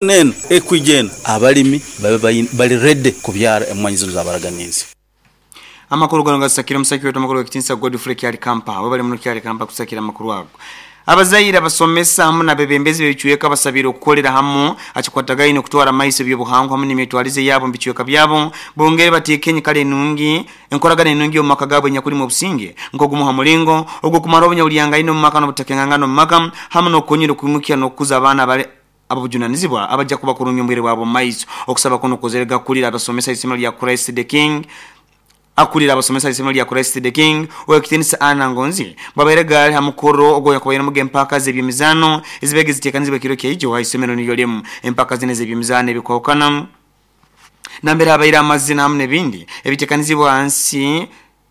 Eno ekwija eno abalimi babe bali ready kubyara emwanyi zinu zabaraganiize. Amakuru gano gasakire omusaki wetu amakuru g'ekitinisa Godfrey Kyalikampa. Webale muno Kyalikampa kusakira amakuru ago. Abazaire, abasomesa hamu n'abebembezi b'ebicweka basabire okukolera hamu akikwatagaine okutwara amaiso eby'obuhangwa hamu n'emyetwarize yabo omu bicweka byabo bongere bateeke enyikara enungi enkoragana enungi omu maka gaabo enyakulimu obusinge nk'ogumu ha mulingo ogw'okumaraho obunyabulyangaine omu maka n'obutakengangana omu maka hamu n'okukonyera okwimukya n'okukuza abaana abali ab'obujunanizibwa abajja kuba kurungi omu bwire bwabo omu maiso. Okusaba kunu kukozerega akulira abasomesa isomero lya Christ the King Akulira abasomesa isomero lya Christ the King, Owekitinisa Anna Ngonzi bwabaire gaali ha mukoro ogwakubairemuga empaka z'ebyemizaano ezibaire ziteekanizibwa ekiro kyaijo ha isomero niryo limu. Empaka zinu ez'ebyemizaano ebikwahukana nambere habaire amazina hamu n'ebindi ebiteekanizibwa hansi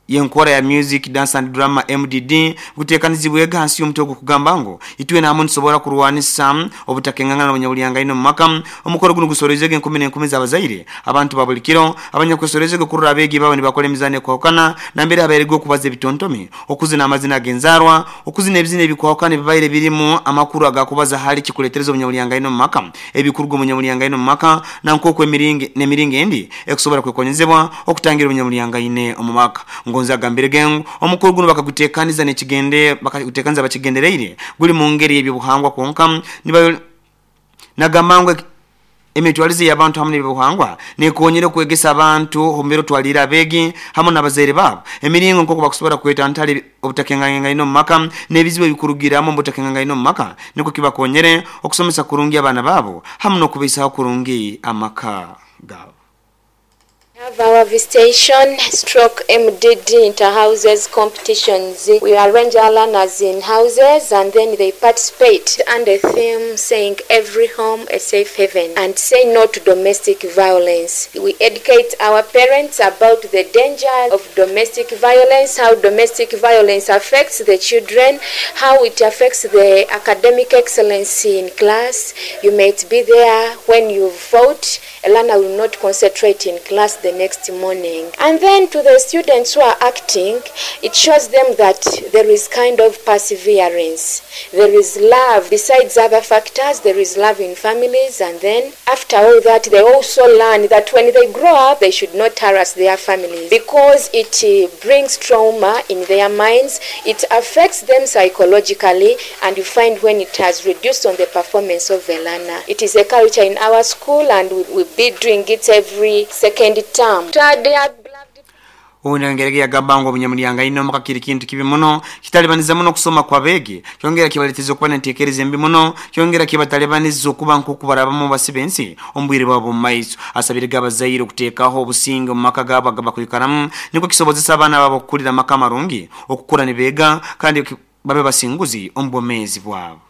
y'enkora ya Music, Dance and Drama, MDD, guteekanizibwege hansi y'omutwe ogukugamba ngu Itwena hamu nitusobora kurwanisa obutakengangana n'obunyaburyangaine omu maka. Omukoro gunu gusoroizege enkumi n'enkumi z'abazaire, abantu ba buli kiro, abanyakwesorozege kurora abeegi baabo nibakora emizaano ekwahukana nambere habairege okubaza ebitontome, okuzina amazina ag'enzaarwa, okuzina ebizina ebikwahukana ebibaire birimu amakuru agakubaza hali kikuletereza obunyaburyangaine omu maka, ebikuruga omu bunyaburyangaine omu maka na nk'oku emiringo n'emiringo endi ekusobora kwekonyezebwa okutangira obunyaburyangaine omu maka. Ngonzi agambirege ngu omukoro gunu bakagutekaniza n'ekigende bakagutekaniza bakigendereire guli mu ngeri y'eby'obuhangwa kwonka nibayo nagamba ngu emitwarize y'abantu hamu n'eby'obuhangwa n'ekonyera okwegesa abantu omu biro otwaliire abeegi hamu n'abazaire baabo emiringo nk'oku bakusobora kwetantara obutakengangengaine omu maka n'ebizibu ebikurugiramu omu butakengangaine omu maka nukwo kibakonyere okusomesa kurungi abaana baabo hamu n'okubaisaho kurungi amaka gaabo. We have our visitation stroke MDD inter-houses competitions. We arrange our learners in houses and then they participate under theme saying every home a safe haven and say no to domestic violence. We educate our parents about the danger of domestic violence, how domestic violence affects the children, how it affects the academic excellence in class. You might be there when you vote, a learner will not concentrate in class the next morning. And then to the students who are acting, it shows them that there is kind of perseverance. There is love. Besides other factors, there is love in families. And then after all that, they also learn that when they grow up, they should not harass their families because it brings trauma in their minds. It affects them psychologically, and you find when it has reduced on the performance of the learner. It is a culture in our school, and we will be doing it every second term. Obundi ayongerege yagamba ngu obunyamulyangaine omuka kiri kintu kibi muno, kitalibaniza muno okusoma kw'abeegi, kyongera kibaleteza okuba n'entekereza embi muno, kyongera kibatalibaniza okuba nk'oku barabamu basiba ensi omu bwire bwabo omu maiso. Asabirege abazaire okuteekaho obusinge omu maka gaabo agabakwikaramu nukwo kisobozese abaana baabo okukurira amaka amarungi, okukura nibeega kandi babe basinguzi omu bwomeezi bwabo.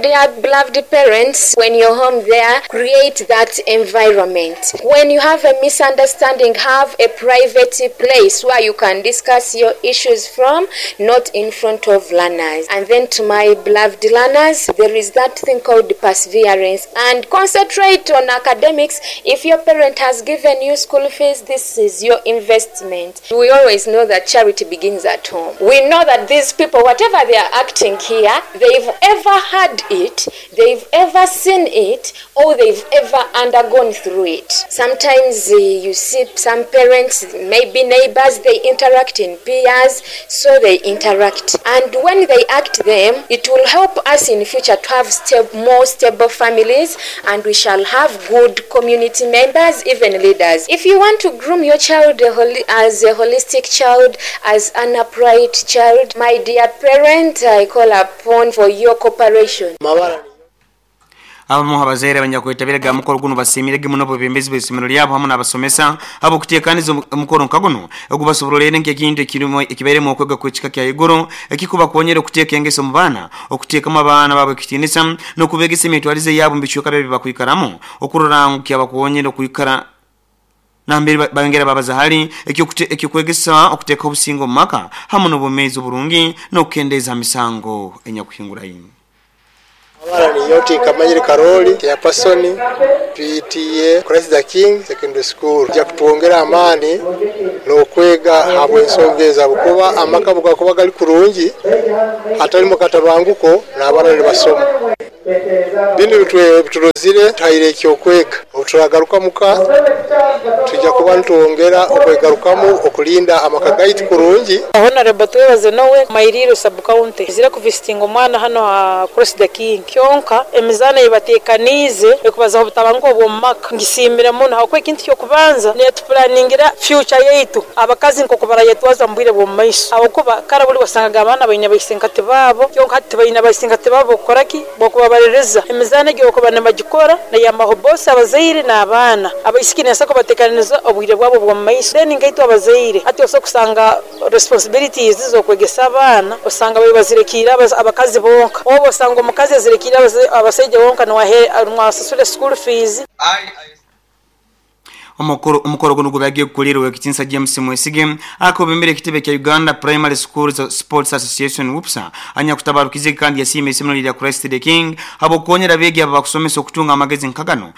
Dear beloved parents, when you're home there, create that environment. When you have a misunderstanding, have a private place where you can discuss your issues from, not in front of learners. And then to my beloved learners, there is that thing called perseverance and concentrate on academics. If your parent has given you school fees, this is your investment. We always know that charity begins at home. We know that these people, whatever they are acting here, they've ever had it, they've ever seen it, or they've ever undergone through it. Sometimes you see some parents, maybe neighbors, they interact in peers, so they interact. And when they act them, it will help us in future to have more stable families, and we shall have good community members, even leaders. If you want to groom your child as a holistic child, as an upright child, my dear parent, I call upon for your cooperation. Abamu ha bazaire abanyakwetabirege ha mukoro gunu basiimirege muno obwebembezi bw'isomero lyabo hamu n'abasomesa habw'okuteekaniza omukoro nka gunu ogubasoborroleire nk'ekintu ekibairemu okwega kw'ekika kya haiguru ekikubakonyera okuteeka engeso omu baana, okuteekamu abaana baabo ekitiinisa n'okubeegesa emyetwarize yaabo omu bicweka byabo ebibakwikaramu okurora ngu kyabakonyera okwikara nambere bayongera babaza hali eky'okwegesa okuteekaho obusinge omu maka hamu n'obwomeezi oburungi n'okukendeeza ha misango enyakuhinguraine. Amabara ni Yoti Kamanyire Karoli, Chairperson, PTA, Christ the King Secondary School. Ija kutwongera amaani n'okwega habw'ensonga ezi habwokuba amaka obugakuba gali kurungi hatalimu katabanguko n'abaana nibasoma. Binu biturozire tuhaire ekyokwega. Obu turagaruka muka tujja kuba nitwongera okwegarukamu okulinda amaka gaitu kurungi. Honorable Twebaze Nowe, Mairiro sub county, zire kuvisitinga omwana hano ha Cross the King. Kyonka emizaano eyibateekaniize ekubazaho obutabanguko obw'omu maka ngisiimire muno habwokuba ekintu ky'okubanza netupulaningira future yaitu abakazi nk'oku barayetwaza mu bwire bw'omu maiso, habwokuba kara buli wasangaga abaana baine baisenkati baabo, kyonka hati tibaine baisenkati baabo b'okukora ki, b'okubabaliriza. Emizaano egi okuba nibagikora neyambaho bosi abazaire n'abaana abaisiki neesa kubateekaniriza obwire bwabo obw'omu maiso. Then nkaitwe abazaire hati osobola kusanga responsibilities z'okwegesa abaana osanga babe bazirekiire abakazi bonka, oba osanga omukazi azirekiire abasaija bonka niwasasura school fees. Omukoro guno gubagiye kukulirwa ekitinsa James Mwesige akobembere ekitebe kya Uganda Primary Schools Sports Association WUPSA anyakutabarukize kandi yasiima isomero lya Christ the King habwokukonyera abeegi aba bakusomesa okutunga amagezi nkagano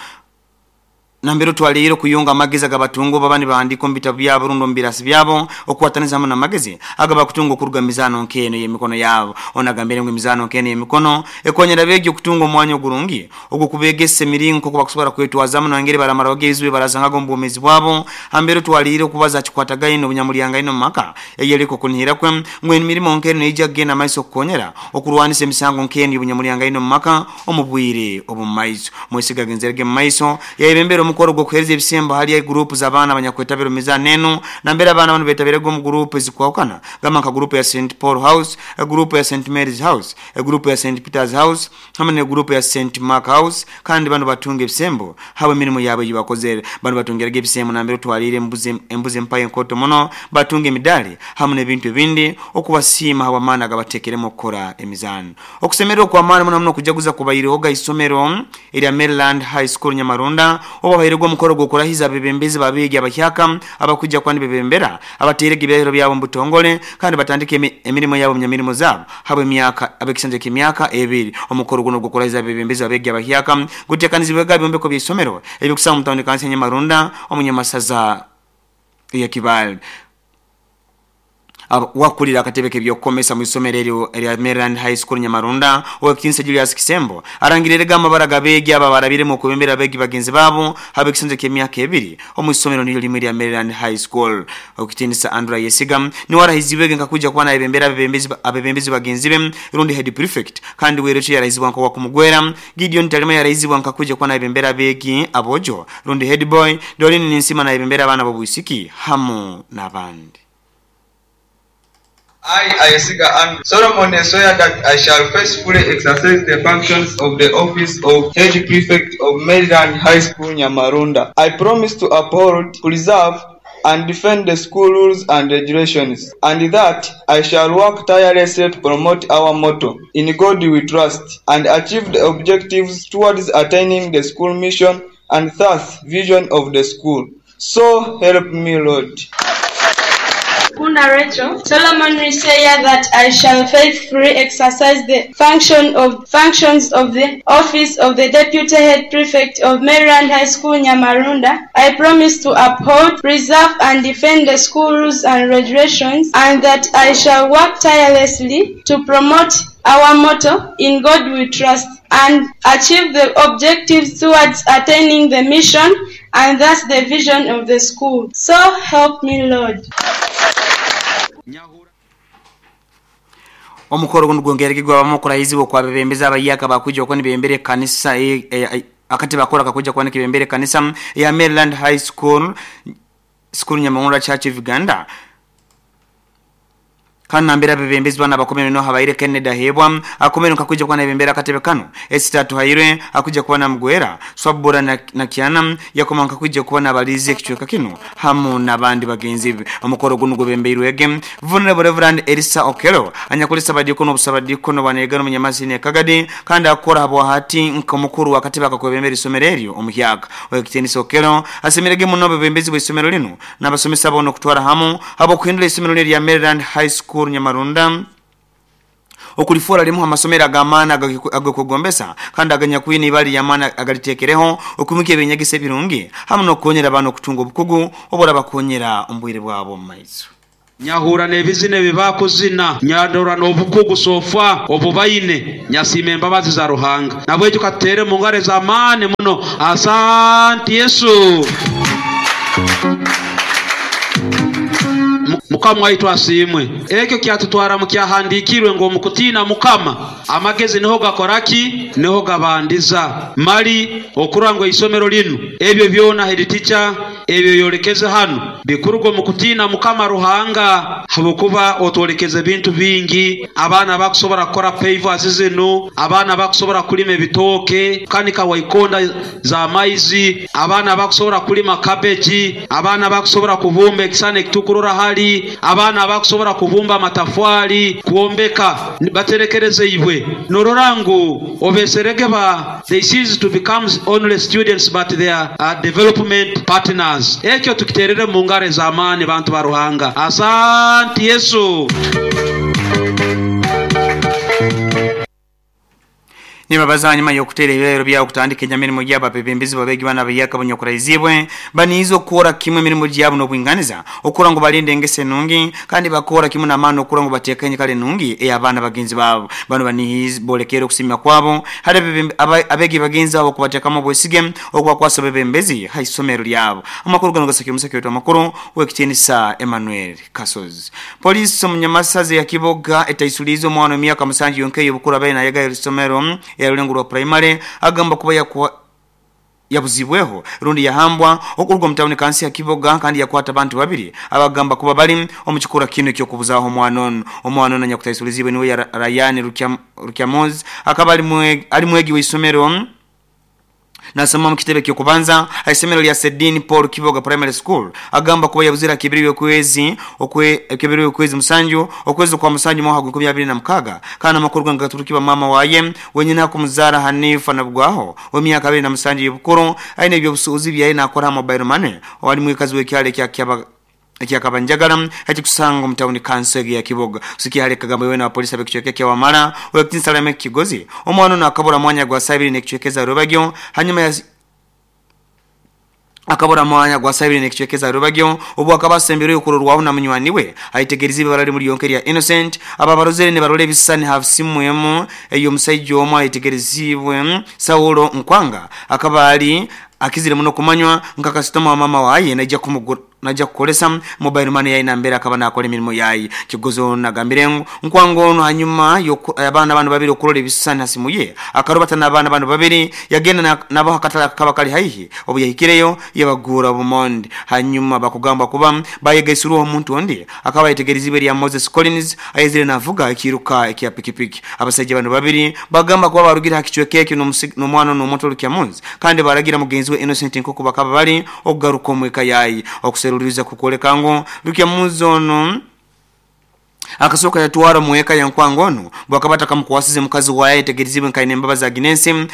nambere twalire kuyunga amagezi agabatunga baba nibahandika omu bitabu byabo rundi omu birasi byabo okukwataniza hamu n'amagezi agabakutunga okuruga mu mizaano nk'eno y'emikono yabo. Ono agambire ngu emizaano nk'eno y'emikono ekonyera abeegi okutunga omwanya ogurungi ogw'okubeegesa emiringo nk'oku bakusobora kwetwazamu nangeri baramaraho ebizibu barasangaga omu bwomeezi bwabo. Hambere twalire okubaza kikwatagaine obunyamulyangaine omu maka eyereka okunihira kwe ngu emirimo nk'eno neija kugenda maiso okukonyera okurwanisa emisango nk'eno y'obunyamulyangaine omu maka omu bwire obw'omu maiso. Mwesiga agenzerege mu maiso yayebembera omukoro gw'okuheereza ebisembo hali gurupu z'abaana abanyakwetabira omu mizaano enu nambere abaana banu betabirege omu gurupu ezikwahukana gamba nka gurupu ya St Paul House, gurupu ya St Mary's House, gurupu ya St Peter's House hamwe ne gurupu ya St Mark House, kandi banu batunga ebisembo habwe emirimu yabo ei bakozere. Banu batungiraga ebisembo nambere twalire embuzi empaya enkoto muno, batunga emidali hamwe n'ebintu ebindi okubasiima habw'amaani agabateekeremu okukora emizaano. Okusemererwa okw'amaani muno muno okujaguza kubairehoga isomero erya Maryland High School Nyamarunda obu bahairwe omukoro gw'okurahiza abebembezi babeegi abahyaka abakujja kuba nibebembera abateerege ebirahiro byabo omu butongole kandi batandike emirimo yabo omu zaabo habw'emyaka ab'ekisanja ky'emyaka ebiri. Omukoro guno gw'okurahiza abebembezi babeegi abahyaka guteekanizibwega ebyombeko by'isomero ebyokusanga omu tawuni kansi ya Nyamarunda omu Nyamasaza ya Kibaale. Wakulira akatebe k'ebyokukomesa mu isomero eryo erya Maryland High School Nyamarunda owekitinisa Julius Kisembo arangirire amabara g'abeegi aba barabiremu okubembera abeegi bagenzi baabo habw'ekisanja ky'emyaka ebiri omu isomero niryo limwe erya Maryland High School. Owekitinisa Andrew Yesiga niwe arahizibwege nkakuja kuba nayebembera abebembezi bagenzi be rundi head prefect, kandi werekye yarahizibwa nka wakumugwera. Gideon Talima yarahizibwa nkakuja kuba nayebembera abeegi abojo rundi head boy. Dolin Ninsima nayebembera abaana b'obwisiki hamu n'abandi. I, Ayesiga Andrew, solemnly swear that I shall faithfully exercise the functions of the office of Head Prefect of Maryland High School, Nyamarunda. I promise to uphold, preserve, and defend the school rules and regulations, and that I shall work tirelessly to promote our motto, In God We Trust, and achieve the objectives towards attaining the school mission and thus vision of the school. So help me, Lord. Kunda Rachel, solemnly swear that I shall faithfully exercise the functions of the office of the Deputy Head Prefect of Maryland High School, Nyamarunda. I promise to uphold, preserve, and defend the school rules and regulations, and that I shall work tirelessly to promote our motto, In God We Trust, and achieve the objectives towards attaining the mission and thus the vision of the school. So help me, Lord. Omukoro guno gwongerege gwabamu okurahizibwa okwabebembezi abayaka bakujja okuba nibembera ekanisa akati bakora kakujja kuba nikibembera ekanisa ya Maryland High School Nyamarunda Church of Uganda. Kandi nambere abebembezi bana abakomere no habaire Kennedy Ahebwa akomere nkakuja kuba nabembera akatebe kano Esther Tuhaire akuja kuba namugwera Swabura na Kiana yakoma nkakuja kuba nabalize ekicweka kino hamu n'abandi bagenzi be. Omukoro guno gubembeirwege Vulnerable Reverend Elisa Okelo anyakulisa badikono obusabadikono banegano munyamazini Kagadi kandi akora habwa hati nkomukuru wakatiba akakwebembera isomero eryo omuhyaka. Owekitinisa Okelo asemerege muno abebembezi bw'isomero lino n'abasomesa bono okutwara hamu abo kuhindura isomero lya Maryland High School Nyamarunda okulifora limu amasomero agamaana agakugombesa kandi aganyakwine ibali yamaana agalitekereho okumika ebinyegesa ebirungi hamu n'okukonyera abaana okutunga obukugu obura bakonyera omu bwire bwabo omu maiso. Nyahurra n'ebizina ebi bakuzina, nyarora n'obukugu sofa obubaine, nyasiima embabazi za Ruhanga. Nabwekyo katutere mu ngaro ez'amaani muno. Asante Yesu. Mukama waitu asiimwe. Ekyo kyatutwara mu kyahandiikirwe ngu omu kutiina Mukama amagezi niho gakora ki? Niho gabandiza. Mali okurora ngu eisomero linu ebyo byona head teacher ebyo yolekeze hanu bikuruga omu kutiina Mukama Ruhanga, habwokuba otwolekeze ebintu bingi. Abaana bakusobora kukora pavers zinu, abaana bakusobora kulima ebitooke, kukanika waikonda za maizi, abaana bakusobora kulima cabbage, abaana bakusobora kubumba ekisana ekitukurora hali, abaana bakusobora kubumba amatafwali, kwombeka baterekereze ibwe. Norora ngu obeserege ba they cease to become only students but they are development partners. Ekyo tukiterere mu ngaro ez'amaani bantu ba Ruhanga. Asante Yesu. Nibabaza hanyuma y'okuteera ebirahiro byabo kutandika enyamirimu gyabo abebembezi babegi bana abayaka abanyakuraizibwe baniiza okukora kimwe emirimu gyabo n'obwinganiza okukora ngu balinde engeso enungi kandi bakora kimwe n'amaani okukora ngu bateeka enyikara enungi ey'abaana bagenzi baabo. Bano baniiza boolekere okusiima kwabo hali abeegi bagenzi babo okubateekamu obwesige okubakwasa obwebembezi ha isomero lyabo. Amakuru ganu gasakire omusaki waitu amakuru ow'ekitiinisa Emmanuel Kasozi. Poliisi omu Nyamasaza eya Kiboga etaisuliize omwana w'emyaka musanju yonka ey'obukuru abaire nayegayo isomero erya Rulengo rwa Primary agamba kuba yabuzibweho rundi yahambwa okuruga omu tawuni kansi ya Kiboga kandi yakwata abantu babiri abagamba kuba bali omu kikura kinu eky'okubuzaaho omwana onu. Omwana onu anyakutaisuliziibwe niwe Ryan Rukyamuzi akaba ali mwegi w'isomero nasoma omu kitebe ky'okubanza aha isomero lya Sedini Paul Kiboga Primary School. Agamba kuba yabuzire aha kibiri y'okwezi musanju okwezi kwa musanju mwaka gwa enkumi abiri na mukaaga kandi amakuru ganu gaturukiba maama waye wenyine akumuzaara Hanifa Nabugwaho w'emyaka abiri na musanju y'obukuru aine ebyobusuubuzi byaye nakora ha mobile money owali mwikazi w'ekyaro ekya Kabanjagala ekikusanga omu tawuni kanso egi ya Kiboga. Kusikia hali Kagamba wewe na polisi ab'ekicweka ekya Wamala ow'ekitiinisa Lameck Kigozi omwana ono akabura mwanya gwa saa ibiri n'ekicweka eza Rubagyo hanyuma akabura mwanya gwa saa ibiri n'ekicweka eza Rubagyo obu akaba asembireyo kurorwaho na munywani we ayetegereza ibara limu lyonka erya Innocent. Aba barozere nibarora ebisisani ha simu emu ey'omusaija omwe ayetegerezibwe Saulo Nkwanga akaba ali akizire muno kumanywa nka kasitoma wa mama waye naija kumugura naija kukolesa mobile money yayi nambere akaba nakora emirimo yayi. Kigozi ono nagambire ngu Nkwanga ono hanyuma abaana bano babiri okurora ebisisani ha simu ye akarobata n'abaana bano babiri yagenda nabo akatale akaba kali haihi obu yahikireyo yabagura obumondi hanyuma bakugamba kuba bayegaisirweho omuntu ondi akaba ayetegerezibwe erya Moses Collins ayezire navuga ekiruka ekya pikipiki. Abasaija bano babiri bagamba kuba barugire ha kicweka ekyo n'omwana n'omuntu Rukyamuzi kandi baragira mugenzi we Innocent nk'oku bakaba bali okugaruka omweka yayi. Okuseruliriza kukwoleka ngu Rukyamuzi ono akasooka yatwara omweka ya Nkwanga ono bwakaba atakamukwasize mukazi waye ayetegerezibwe nkaine embabazi za Ginensi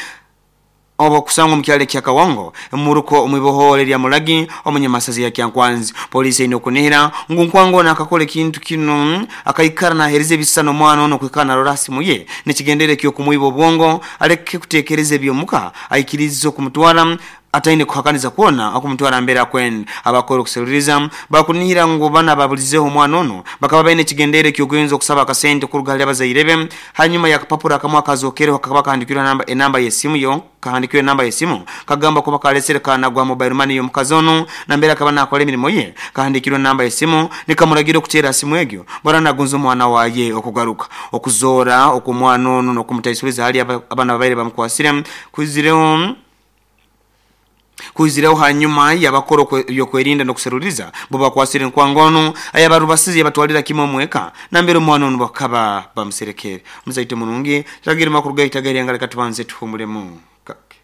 oba okusanga omu kyalo ekya Kawango emuruko omwibohoore erya Mulagi omunyamasazi ya Kyankwanzi. Poliisi eine okunihira ngu Nkwanga ono akakora ekintu kinu akaikara naheereza ebisisani omwana ono okwikara narora ha simu ye nekigendere eky'okumwiba obwongo aleke kuteekereza ebyomuka aikirize okumutwara ataine kuhakaniza kwona okumutwara mbere akwenda. Abakora okuseruliriza bakunihira ngu bana babulizeho omwana ono bakaba baine ekigendere eky'okuyinza okusaba akasente kuruga hali abazaire be hanyuma y'akapapura akamu akazokereho kakaba kahandikirwe enamba y'esimu yo kahandikirwe enamba y'esimu kagamba kuba kalesere kanagwa mobile money y'omukazi ono nambere akaba nakora emirimo ye kahandikirwe enamba y'esimu nikamuragira okuteera simu egyo bara nagunza omwana waye okugaruka okuzoora okw'omwana ono n'okumutaisuliza hali abaana babaire bamukwasire kuizireho hanyuma yabakora ebyokwerinda n'okuseruliriza bo bakwasire Nkwanga ono ayabarubasize yabatwalira kimwe omweka nambere omwana ono bakaba bamuserekere. Omuzaite murungi tagire makuru gaita gairenga leka tubanze tuhumulemu kake.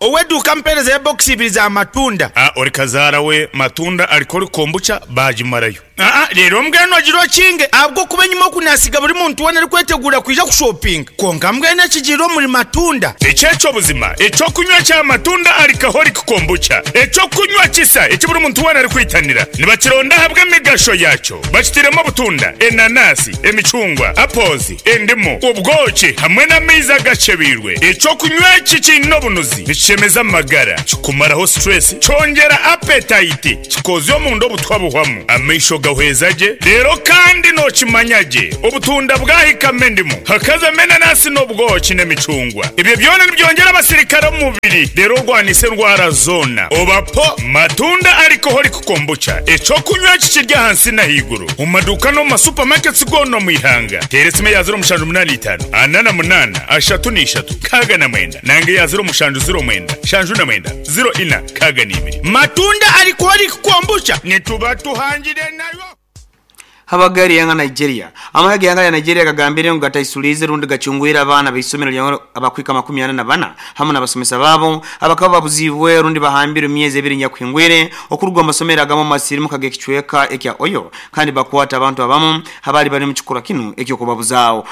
Ow'eduuka mpeereza ya bokisi ibiri za matunda. A Ori kazaara we matunda alikora kombucha baagimarayo. Aa Reero mbwenu ogira okinge ahabw'okuba enyima oku naasiga buri muntu weena arikweteguura kwija kushopinga. Kwonka mbwenu ekigiire omuri matunda. Eki eky'obuzima, eky'okunywa kya matunda Alcoholic Kombucha, eky'okunywa kisa eki buri muntu weena arikwitanira. Nibakironda ahabw'emigasho yaakyo. Bakitairemu obutunda, enanasi, emicungwa, apples, endimu, obwoki hamwe n'amaizi agakyebeirwe. Eky'okunywa eki kiine obunuzi, nikishemeza amagara, kikumaraho stress, kyongyera appetite, kikoozya omunda obutwa buhwamu, amaisho gawa. Nigahweza gye reero kandi nookimanya gye obutunda bwahikamu endimu, hakazamu enanasi n'obwoki n'emicungwa. Ebyo byona nibyongyera abasirikare omu mubiri reero orwanise endwara zoona. Oba po Matunda Alcoholic Kombucha, eky'okunywa eki kiri ahansi n'ahaiguru omu maduuka n'omu ma supermarkets goona omu ihanga. Teera esimu eya 0785 48 33 69 nanga eya 0709 79 04 62. Matunda Alcoholic Kombucha nituba tuhangire nayo. Habagari yanga Nigeria. Amahe g'ihanga lya Nigeria gagambire ngu gataisuliize rundi gacungwire abaana b'isomero lya abakwika 44 hamu n'abasomesa baabo abakaba babuziibwe rundi bahambire omu myezi ebiri nyakuhingwire okuruga omu masomero agamu omu masirimuka g'ekicweka ekya Oyo kandi bakwata abantu abamu abaali bali omu kikorwa kinu eky'okubabuzaaho.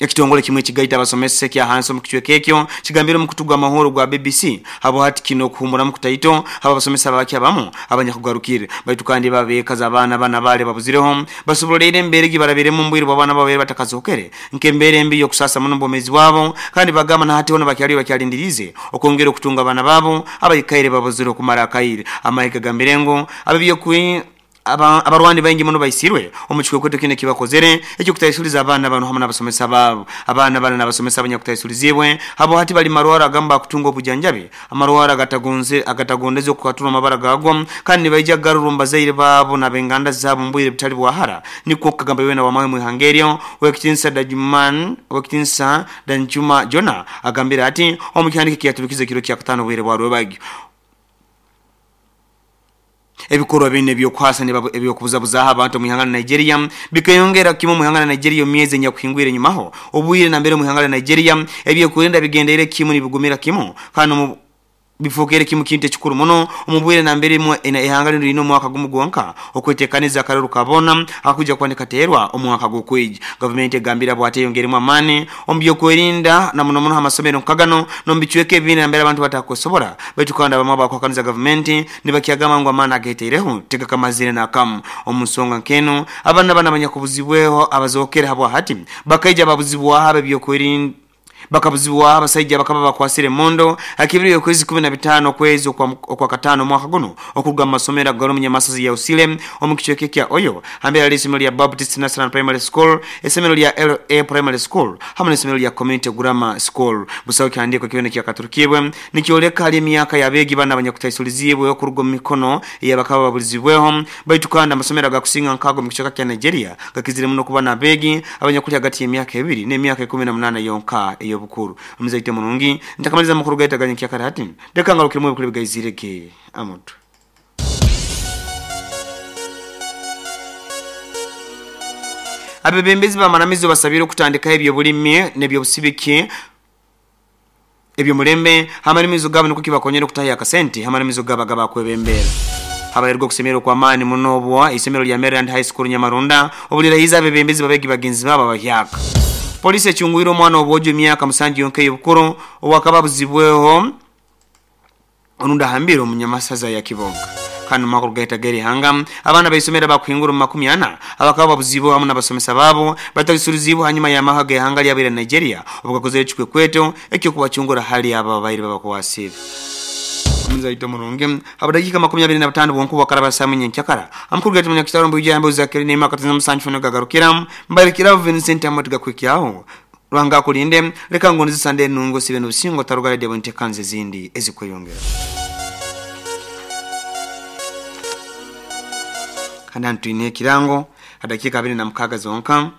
Ekitongole kimwe ekigaita abasomesa ekya hansi omu kicweka ekyo kigambire omukutu gw'amahoro gwa BBC habwahati kinu okuhumuramu kutaito habw'abasomesa abake abamu abanyakugarukire baitu kandi bo abeeka z'abaana banu abaali babuzireho basoboleire embeera egi barabiremu omu bwire bw'abaana babo batakazokere nk'embeera embi y'okusaasa muno omu bwomeezi bwabo kandi bagamba na hati hoona bakyaliyo bakyalindiriize okwongera okutunga abaana baabo abaikaire babuzire okumara akaire. Amahe gagambire ngu ab'ebyokwerinda Abarwani baingi muno baisirwe omu kikwekweto kinu ekibakozere eky'okutaisuliza abaana banu hamu n'abasomesa baabo. Abaana banu n'abasomesa abanyakutaisuliziibwe habo hati bali marwaro agamu bakutunga obujanjabi, amarwaro agatagondeze okukwaturwa amabara gaago kandi nibaija kugarurwa omu bazaire baabo n'abenganda zaabo omu bwire butali bwa hara, nikwo kukagamba wena w'amahe omu ihanga eryo, Owekitinisa Dajman Owekitinisa Danjuma Jonah agambire ati omu kihandiiko ekiyaturukize ekiro kyakataano obwire bwa rwebagyo. Ebikorwa binu eby'okuhaasa eby'okubuzabuzaaho abantu omu ihanga lya Nigeria bikeyongera kimu omu ihanga lya Nigeria omu myezi enyakuhingwire enyumaho. Obwire nambere omu ihanga lya Nigeria ebyokwerinda bigendeire kimu nibigumira kimu kandi omu bifookere kimu kintu ekikuru muno omu bwire nambere ihanga linu liine omwaka gumu gwonka okwetekaniza akaruru ka boona akakwija kuba nikateerwa omwaka gukwija. Gavumenti egambire bwati eyongeiremu amaani omu by'okwerinda na muno muno ha masomero nka ganu n'omu bicweka ebindi nambere abantu batakusobora baitu kandi abamu abakuhakaniza gavumenti nibakyagamba ngu amaani agetaireho tigakamazire n'akamu. Omu nsonga nk'enu, abaana banu abanyakubuzibweho abazookere habwahati bakaija babuzibwaho ab'ebyokwerinda bakabuzibwaho abasaija abakaba bakwasire emondo akibiro y'okwezi 15 okwezi okwakataano omwaka gunu okuruga mu masomero agali omu nyamasozi ya Usile omu kicweka ekya Oyo hambere hali isomero lya Baptist National Primary School, isomero lya LA Primary School hamu n'isomero lya Community Grammar School. Busaho kihandiiko kyona ekyakaturukibwe nikyoleka hali emyaka y'abeegi banu abanyakutaisuliziibwe okuruga omu mikono ey'abakaba babulizibweho. Baitu kandi amasomero agakusinga nk'ago omu kicweka kya Nigeria gakizire muno kuba n'abeegi abanyakuli hagati y'emyaka ebiri n'emyaka 18 yonka ey'obukuru. Omuzaite murungi, ntakamaliza amakuru gaitu aga nyenkyakara hati, leka ngarukiremu ebikuru ebigaizire ge amutwe. Abebembezi b'amaramizo basabire okutandikaho eby'obulimi n'eby'obusibiki eby'omulembe h'amaramizo gaabo nukwo kibakonyere okutayo akasente h'amaramizo gaabo agabakwebembera. Habairwe okusemererwa okw'amaani muno obwo eisomero lya Maryland High School Nyamarunda obu lirahiize abebembezi b'abeegi bagenzi baabo abahyaka. Poliisi ecungwire omwana w'obwojo emyaka musanju yonka ey'obukuru owakaba abuzibweho orundi ahambire omu nyamasaza ya Kiboga. Kandi omu makuru gaitu ag'erihanga, abaana b'eisomero abakuhingura omu 40 abakaba babuzibweho hamu n'abasomesa baabo batalisuriziibwe hanyuma y'amahe ag'ihanga lyabo erya Nigeria obugakozere ekikwekweto eky'okubacungura hali abo ababaire babakwasire. Omuzaito murungi, habw'edakiika 25 bwonka obwakaraba saaha imwe nyenkyakara, amakuru gaitu munyakitara omu bwijambo Zakiri Neema Katonda Musanju Fano gagarukira, Mbarekeraho Vincent Amooti gakuhikyaho. Ruhanga akulinde, leka ngoneze Sunday enungi osiibe n'obusinge otaruga radio bw'enteekaniza ezindi ezikweyongera. Kandi hanu twine ekirango ha dakiika 26 zonka.